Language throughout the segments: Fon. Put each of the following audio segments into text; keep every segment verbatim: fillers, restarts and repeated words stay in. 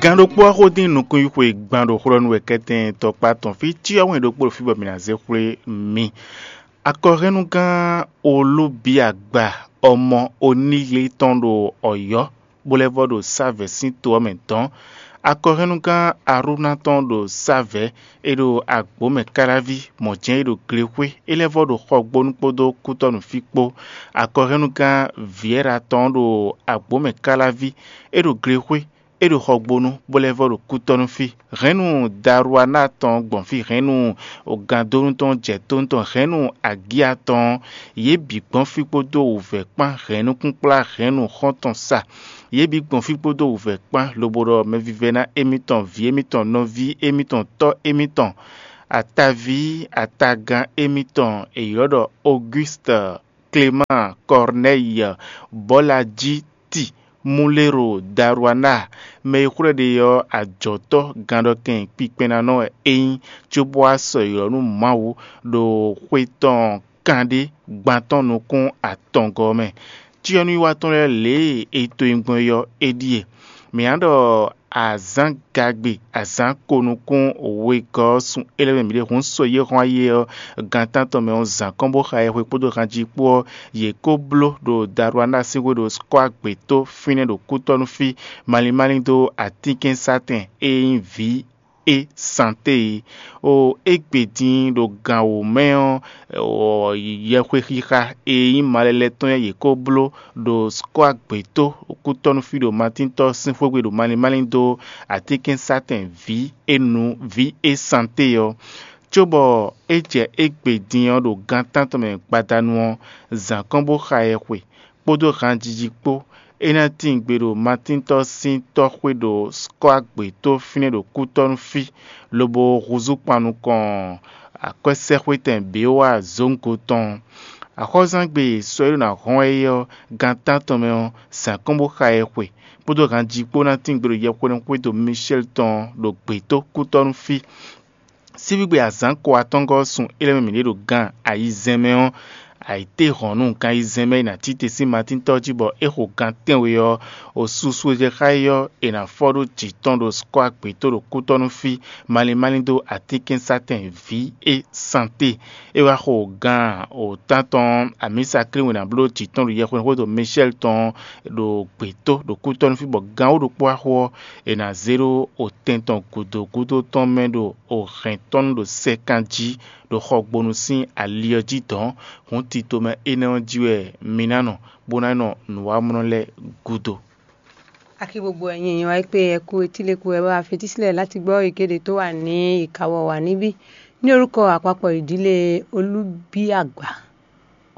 Gǎn ɖokpó wá xó dín nukúnyi xwe gban ɖo xlɔ́ nú wɛ kɛ́tɛn tɔkpá tɔn fí cyɔ wɛn ɖokpó ɖo fí bɔ mǐ ná zé xwlé mi. Akɔhɛ́nnugán Olúbíagba ọmọ Oníle tɔn ɖo Ɔ̌yɔ́, bó lɛ́ vɔ ɖo Sávɛ̌ sín to ɔ́ mɛ dɔ̌n. Akɔhɛ́nnugán Arúná tɔn ɖo Sávɛ̌, é ɖo agbǒ mɛ káláví, mɔ̌ jɛ́n é ɖo glexwé, é lɛ́ vɔ ɖo Xɔgbónu kpódó Kútɔ́nu fí kpó. Akɔhɛ́nnugán Vǐɛ́ra tɔn ɖo agbǒ mɛ káláví, é ɖo glexwé, é ɖo Xɔgbónu, bó lɛ́ vɔ ɖo Kútɔ́nu fí. Hɛ̌nnu Daruaná tɔn gbɔn fí, hɛ̌nnu Gandónu tɔn jɛ tó tɔn, hɛ̌nnu Agíya tɔn, yě bǐ gbɔn fí kpódó wǔvɛ́ kpán, hɛ̌nnukúnkplá hɛ̌nnu xɔ́ntɔn sa. Yě bǐ gbɔn fí kpódó wǔvɛ́ kpán, lobo ɖɔ mɛvívɛ́ná émítɔn, vǐ émítɔn, nɔví émítɔn, tɔ́ émítɔn, ataví atagán émítɔn e è ylɔ́ ɖɔ Ogústɔ, Klemáan, Kɔrnɛ́yi, Bɔ́lajiti, Muléro, Daruaná, mɛ e xwlɛ́ ɖe ɔ́, ajɔ̌tɔ́ gannɖɔkɛn kpinkpɛnnanɔ wɛ é nyí, cóbó wá sɔ́ ylɔ́ nú Mawu ɖo xwe tɔn kanɖé gban tɔn nukún atɔngɔ́ mɛ. Cyɔ́núwiwa tɔn lɛ́ɛ lě e è to nyi gbɔn é ɔ́, é ɖíe: Mǐ ná ɖɔ azǎn gagbe, azǎn ko nukún wegɔ́ ɔ́ sun é lɛ́ɛ mɛ mǐ ɖe hǔn sɔ yě hɔn ayé ɔ́, gan tántɔn mɛ ɔ́, zǎn kɔn bó xa yɛhwe kpódó hanjí kpó ɔ́, yě kó bló ɖo Daruaná sín xwé ɖo Skɔ́agbe tó fínɛ́ ɖo kútɔ́ nú fí, malín málín dó atínkɛ́nsátɛn e nyí vǐ é Santé é. O égbé din ɖo gan wǒ mɛ ɔ́, yɛhwe xixa e nyí malɛlɛ tɔn yɛ yě kó bló ɖo Skɔ́agbe tó kútɔ́ nú fí ɖo Matíntɔ́ sín xwé gbe ɖo malín málín dó atínkɛ́nsátɛn vǐ é nu vǐ é Santé ɔ́. Cóbɔ é jɛ égbé din ɔ́ ɖo gan tántɔn mɛ gbadanu ɔ́, zǎn kɔn bó xa yɛhwe, kpódó hanjiji kpó. É ná tíin gbe ɖo Matíntɔ́ sín tɔ́xwé ɖo Skɔ́agbe tó fínɛ́ ɖo kútɔ́ nú fí, lobo húzú kpan nukɔn akwɛ́sɛ́xwétɛn Beowa zǒngo tɔn. Axɔ́zángbé e sɔ e ɖo ná hɔn wɛ é ɔ́, gan tántɔn mɛ ɔ́, zǎn kɔn bó xa yɛhwe, kpódó hanji kpó ná tíin gbe ɖo yɛhweɖɛnxwédo Mishɛ́li tɔn ɖo gbětó kútɔ́ nú fí. Síbígbe azǎn ko atɔ́ngɔ́ ɔ́ sun é lɛ́ mɛ mǐ ɖe ɖo gan ayizɛ́n mɛ ɔ́, ayǐtéhɔ̌nnu gan ayizɛ́n mɛ e nǎ tite sín Matín tɔ́ jí bɔ é xo gan tɛ́nwe ɔ́, o susu e jɛ xá é ɔ́, è nǎ fɔ ɖó jǐ tɔn ɖo Skɔ́agbe tó ɖo kútɔ́ nú fí, malín málín dó atínkɛ́nsátɛn vǐ é Santé. É wá xo gan o tántɔn amǐsaklín we nǎ bló jǐ tɔn ɖo yɛhweɖɛnxwédo Mishɛ́li tɔn ɖo gbětó ɖo kútɔ́ nú fí bɔ gan wǒ ɖokpó wá xo ɔ́, è nǎ zé ɖó otɛn tɔn gǔdo gúdo tɔn mɛ ɖo o hɛn tɔn nú ɖo sɛkan jí ɖo xɔgbonu sín ali ɔ́ jí dɔ̌n. Hǔn tito mɛ énɛ́ ɔ́ jí wɛ mi ná nɔ, bó ná nɔ nǔwamlɔ lɛ́ɛ gúdo. Akí gbogbo ẹ̀yin èèyàn wa pé ẹ kú etíléku ẹ bá fetísílẹ̀ láti gbọ́ ìkéde tó wà ní ìkáwọ́ wa níbí ní orúkọ àpapọ̀ ìdílé Olúbíàgbà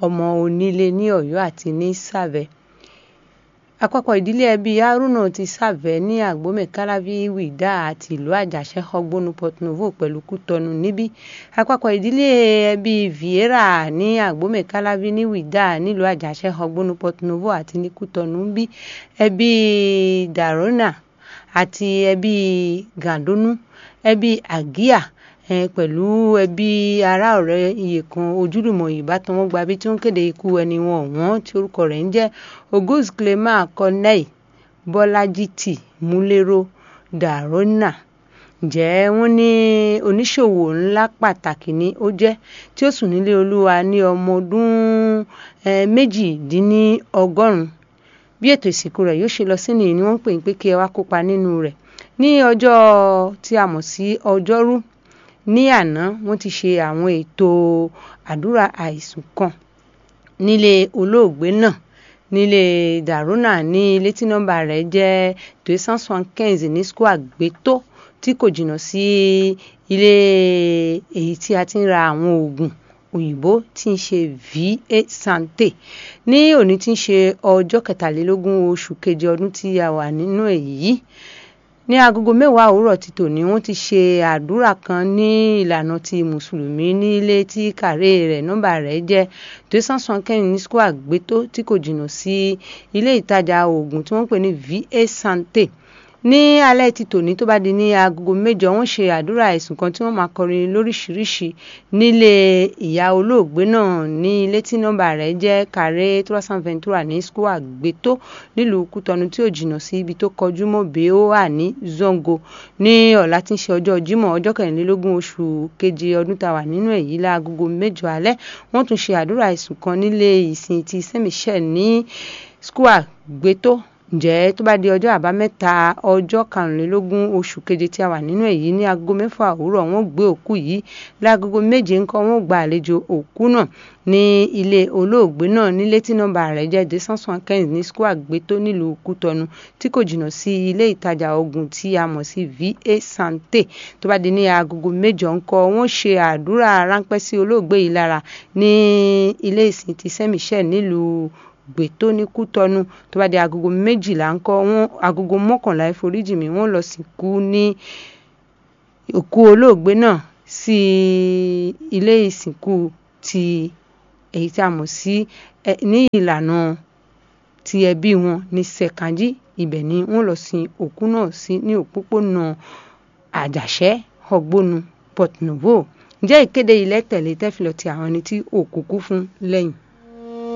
ọmọ onílé ní Ọ̀yọ́ àti ní Sàvẹ́. Àpapọ̀ ìdílé ẹbí Haruna ti Sàvẹ́ ní Àgbómẹ̀káláví Wìdá àti ìlú Àjàṣẹ́ Xɔgbónu Port Novo pẹ̀lú Kútọ́nù níbí. Àpapọ̀ ìdílé ẹbí Vieira ní Àgbómẹ̀káláví ní Wìdá nílùú Àjàṣẹ́ Xɔgbónu Port Novo àti ní Kútọ́nù níbí. Ẹbí Dàrónà àti ẹbí Gàndónú, ẹbí Àgíà, eh, pẹ̀lú ẹbí ará ọ̀rẹ́ iye kan ojúlùmọ̀ ìbátan wọn gba bí tí wọ́n kéde ikú ẹni wọn ọ̀wọ́n tí orúkọ rẹ̀ ń jẹ́ Auguste Clément Corneille Bọ́lájí tì Múléró Dàrónà. Ǹjẹ́ wọ́n ní oníṣòwò ńlá pàtàkì ni ó jẹ́, tí ó sùn nílé Olúwa ní ọmọ ọdún, eh, méjìdínlọ́gọ́rùn-ún. Bí ètò ìsìnkú rẹ̀ yóò ṣe lọ sí nìyí ni wọ́n ń pè yín pé kí ẹ wá kópa nínú rẹ̀. Ní ọjọ́ tí a mọ̀ sí ọjọ́rú, ní àná, wọ́n ti ṣe àwọn ètò àdúrà àìsùn kan nílé olóògbé náà, nílé Dàrónà, ní ilé tí nọ́mbà rẹ̀ jẹ́ deux cent soixante-quinze ní Square Gbétó, tí kò jìnnà sí ilé èyí tí a ti ń ra àwọn oògùn òyìnbó tí ń ṣe V A Santé. Ní òní tí ń ṣe ọjọ́ kẹtàlélógún oṣù keje ọdún tí a wà nínú ẹ̀ yìí, ní agogo mẹ́wàá òwúrọ̀ ti tòní, wọ́n ti ṣe àdúrà kan ní ìlànà ti Mùsùlùmí ní ilé tí kàré rẹ̀, nọ́mbà rẹ̀ jẹ́ deux cent soixante-quinze ní Square Gbétó, tí kò jìnnà sí ilé ìtajà oògùn tí wọ́n ń pè ní V A Santé. Ní alɛ́ tito ní tó bá ɖi ní agogo méjɔ, wọ́n ṣe àdúrà ẹ̀sùn kan tí wọ́n máa kọrin lóríṣiríṣi nílé ìyá olóògbé náà ní létí nọ́mbà rẹ̀ jẹ́ carré trois cent vingt-trois ní Square Gbétó nílùú Kútọnu, tí ò jìnnà sí ibi tó kọjú mọ́ Bèóà ní Zɔ́ngo. Ní ọ̀la tí ń ṣe ọjọ́ Jímọ̀, ọjọ́ kẹrìnlélógún oṣù keje ọdún tá a wà nínú ẹ̀ yìí, láagogo mẹ́jọ alẹ́, wọ́n tún ṣe àdúrà ẹ̀sùn kan nílé ìsìn ti Saint Michel ní Square Gbétó. Ǹjẹ́ tó bá di ọjọ́ àbámẹ́ta, ọjọ́ karùnlélógún oṣù keje tí a wà nínú ẹ̀ yìí, ní aago mẹ́fà òwúrọ̀, wọ́n gbé òkú yìí. Láagogo méje ńkọ́, wọ́n gba àlejò òkú náà ní ilé olóògbé náà ní létí nọ́mbà rẹ̀ jẹ́ deux cent soixante-quinze ní Square Gbétó nílùú Kútọnu, tí kò jìnnà sí ilé ìtajà oògùn tí a mọ̀ sí V A Santé. Tó bá di ní aagogo mẹ́jọ ńkọ́, wọ́n ṣe àdúrà ráńpẹ́ sí olóògbé yìí lára ní ilé ìsìn ti Saint Michel nílùú Gbétó ní Kútọnu. Tó bá di agogo méjìlá ńkọ́, wọ́n agogo mọ́kànlá, ìforíjì mi, wọ́n lọ sìnkú ní òkú olóògbé náà sí ilé ìsìnkú ti èyí tí a mọ̀ sí, ẹ, ní ìlànà ti ẹbí wọn ní Sẹ̀kánjí. Ibẹ̀ ni wọ́n lọ sin òkú náà sí ní òpópónà Àjàṣẹ́ Xɔgbónu, Port Novo. Ǹjẹ́ ìkéde yìí lɛ́ tẹ̀lé tɛ́filɔ ti àwọn ẹni tí òkú kú fún lẹ́yìn?